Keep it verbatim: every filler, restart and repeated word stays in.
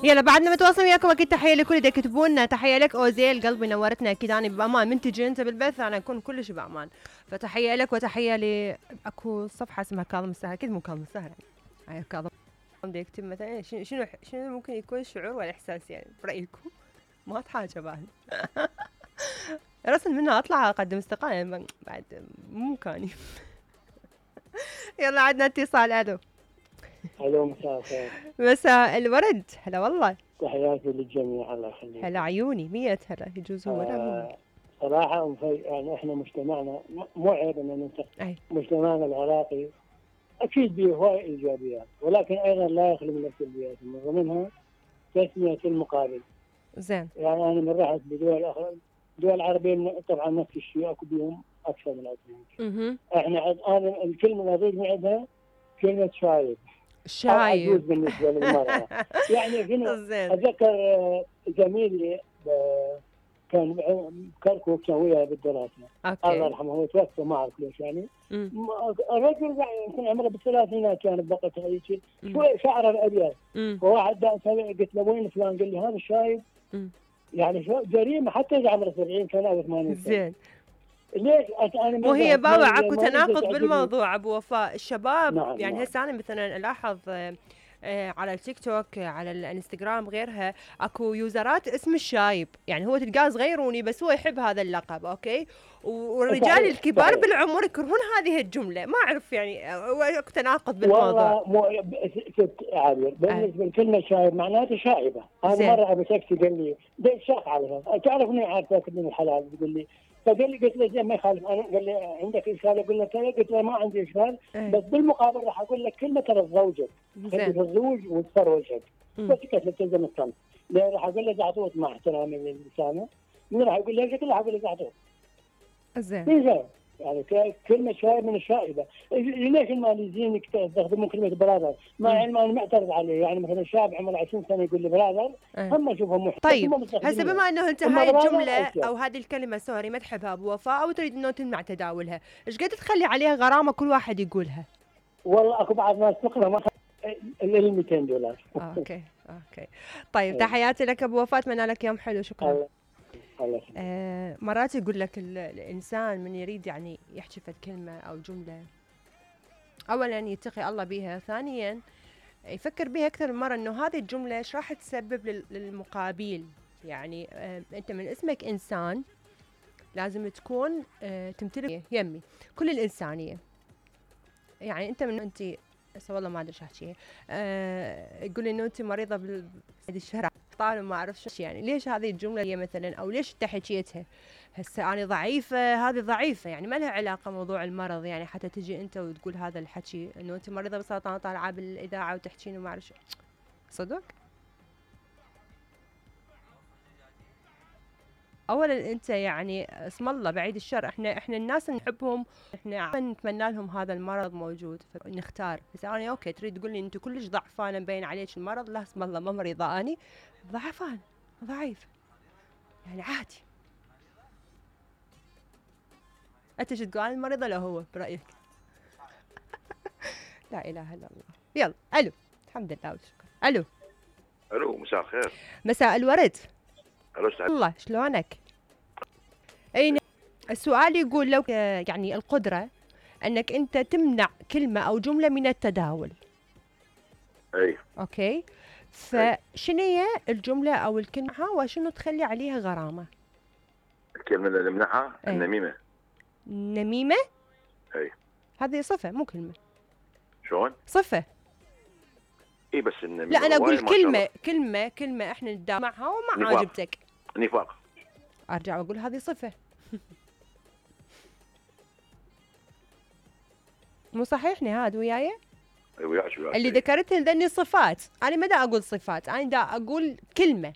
يلا بعدنا متواصل وياكم اكيد. تحيه لكل اللي يكتبون لنا، تحيه لك اوزيل قلبي نورتنا اكيد. انا بامان من تجي انت بالبث انا اكون كلش بامان، فتحيه لك وتحيه ل اكو صفحه اسمها كاظم السهر، اكيد مو كاظم السهر يعني كاظم بده يكتب مثلا شنو شنو شنو ممكن يكون شعور ولا احساس يعني برايكم؟ ما اتحاجى بعد رسل منها اطلع اقدم استقاله بعد مو مكاني يلا عندنا اتصال. الو الو مساء الخير. مساء الورد. هلا والله. تحياتي للجميع الله يخليك. هلا عيوني مية هلا يجوز هو لا مو صراحة يعني احنا مجتمعنا مو عيب ان ننتقد أي. مجتمعنا العراقي اكيد به هواي ايجابيات ولكن ايضا لا يخلو من السلبيات، من ضمنها تسمية المقابل. زين. يعني انا من رحت بدول اخرى دول عربية طبعا نفس الشيء اكو بهم اكثر من عندنا. احنا انا الكلمة اللي اريد من عندها كلمة شايب. شايب بالنسبة للمرأة. يعني شنو اتذكر زميلي كان كركوك كان وياي بالدراسة. الله يرحمه هو توفى ما اعرف ليش يعني. الرجل يمكن عمره بالثلاثينات كان بقته هيك شوي شعره الابيض. فواحد قلت له وين فلان؟ قال لي هذا الشايب. يعني شو جريمة حتى اذا عمره سبعين سنة او ثمانين سنة. زين. ليش انا وهي بابا اكو تناقض بالموضوع ابو وفاء. الشباب نعم يعني هسه انا مثلا الاحظ على التيك توك على الانستغرام غيرها اكو يوزرات اسم الشايب، يعني هو تلقاه صغيروني بس هو يحب هذا اللقب اوكي، والرجال الكبار صحيح. بالعمر يكرهون هذه الجمله، ما اعرف يعني اكو تناقض بالموضوع. والله مو ست عابر بالنسبه لكلمه شايب معناته شائبه. انا مره ابو تاكسي قال لي ده شاق عليها تعرفني عارفك من الحلال بيقول لي، فقال لي قلت له زين ما يخالف. انا قال لي عندك اشكال؟ اقول له قلت له ما عندي اشكال بس بالمقابل راح اقول لك كلمه ترى زوجك خلي الزوج وتصفر وجهك بس كيف تلزم الصمت. لا راح اقول له زعطوط مع احترامي للسامع من راح يقول لي كله راح اقول له زعطوط. زين يعني كلمه شايب من الشائبه. ليش الماليزيين يستخدمون كلمه براذر مع علم انا معترض عليه؟ يعني مثلا شاب عمره عشرين سنه يقول لي براذر هم اشوفهم محترم. طيب هسه بما انه انت هاي الجمله او هذه الكلمه سوري ما تحبها ابو وفاء او تريد انه تمنع تداولها، ايش قد تخلي عليها غرامه كل واحد يقولها؟ والله اكو بعض ناس تقرا ما ال مئتين دولار. اوكي اوكي طيب تحياتي لك ابو وفاء، اتمنى لك يوم حلو. شكرا. آه مرات يقول لك الإنسان من يريد يعني يحكي فد كلمة أو جملة أولا يتقي الله بها، ثانيا يفكر بها أكثر من مرة إنه هذه الجملة إيش راح تسبب للمقابل. يعني آه أنت من اسمك إنسان لازم تكون آه تمتلك يمي كل الإنسانية. يعني أنت من أنت هسه والله ما أدري إيش أحكيها. آه يقول إنه أنت مريضة بالشرع طالب ما اعرف شو يعني. ليش هذه الجمله هي مثلا او ليش انت حكيتها؟ هسه انا ضعيفه هذه ضعيفه يعني ما لها علاقه موضوع المرض، يعني حتى تجي انت وتقول هذا الحكي انه انت مريضه بسرطان وطالعه بالاذاعه وتحكين وما اعرف شو صدق. اولا انت يعني اسم الله بعيد الشر، احنا احنا الناس نحبهم احنا نتمنى لهم هذا المرض موجود فنختار. بس انا اوكي تريد تقول لي انت كلش ضعفانه مبين عليك المرض، لا اسم الله ما مريضه اني ضعفان ضعيف يعني عادي. انت شو تقول؟ انا مريضه لو هو برايك؟ لا اله الا الله. يلا الو الحمد لله والشكر. الو الو مساء الخير. مساء الورد. الو الله شلونك؟ اي السؤال يقول لو يعني القدره انك انت تمنع كلمه او جمله من التداول. اي اوكي فشنو هي الجمله او الكلمه وشنو تخلي عليها غرامه؟ الكلمه اللي نمنعها النميمه. نميمه؟ اي هذه صفه مو كلمه. شلون؟ صفه. اي بس النميمه لا انا اقول كلمه كلمه كلمه احنا نداوم معها وما عاجبتك. نفاق. ارجع واقول هذه صفه. مو صحيح نهاد وياي؟ اي وياك وياك. اللي ذكرتهن ذني صفات، انا ما دا اقول صفات، انا دا اقول كلمه.